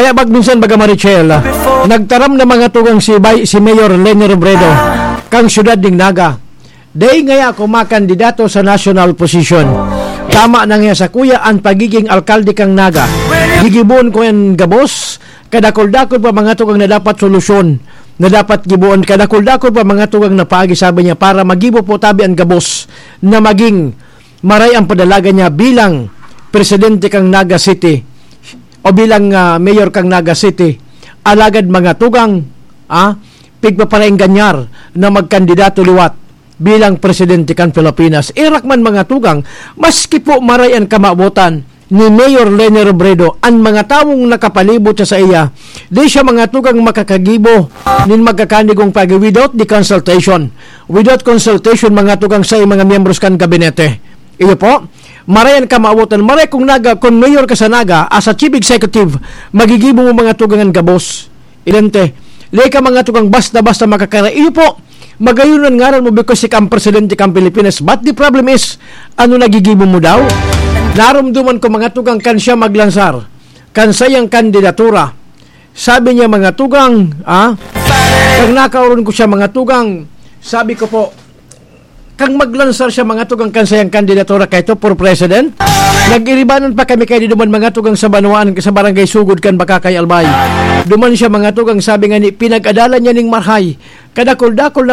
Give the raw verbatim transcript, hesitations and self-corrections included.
Abag minsan baga Marichel, ah, nagtaram na mga tugang si Bay-, si Mayor Leni Robredo, kang siyudad ning Naga. Dai ngaya ako makandidato sa national position. Tama na nga sa kuya an pagiging alkalde kang Naga. Gigibohon ko yan gabos, kadakul-dakul pa mga tugang na dapat solusyon, na dapat gibohon, kadakul-dakul pa mga tugang na paagi, sabi niya, para magibo po tabi an gabos na maging maray ang padalaga niya bilang presidente kang Naga City o bilang, ah, mayor kang Naga City. Alagad mga tugang, ah, pigpaparengganyar na magkandidato liwat bilang presidente kan Pilipinas. Irak man mga tugang, maski po maray an kamawotan ni Mayor Leni Robredo, an mga tawong nakapalibot sa saiya, di siya mga tugang makakagibo nin magkakanigong pagi without the consultation. Without consultation, mga tugang sa mga miyembros kan gabinete. Iyo po, maray an kamawotan, maray kung Naga, kung mayor ka sa Naga, as a chief executive, magigibo mo mga tugang an gabos. Idente, di ka mga tugang basta-basta makakara. Iyo po, magayon an ngaran mo because ika ang presidente kang Pilipinas. But the problem is, ano nagigibo mo daw? Narumduman ko mga tugang kan siya maglansar, kan sayang kandidatura. Sabi niya mga tugang, ah, kang nakaoron ko siya mga tugang, sabi ko po, kang maglansar siya mga tugang kan sayang kandidatura kay to for president. Nag-iribanan pa kami kay di duman mga tugang sa banwaan sa barangay Sugod kan Bakakay Albay. Duman siya mga tugang, sabi nga ni pinag-adalan niya ning marhay. Kadakol-dakol na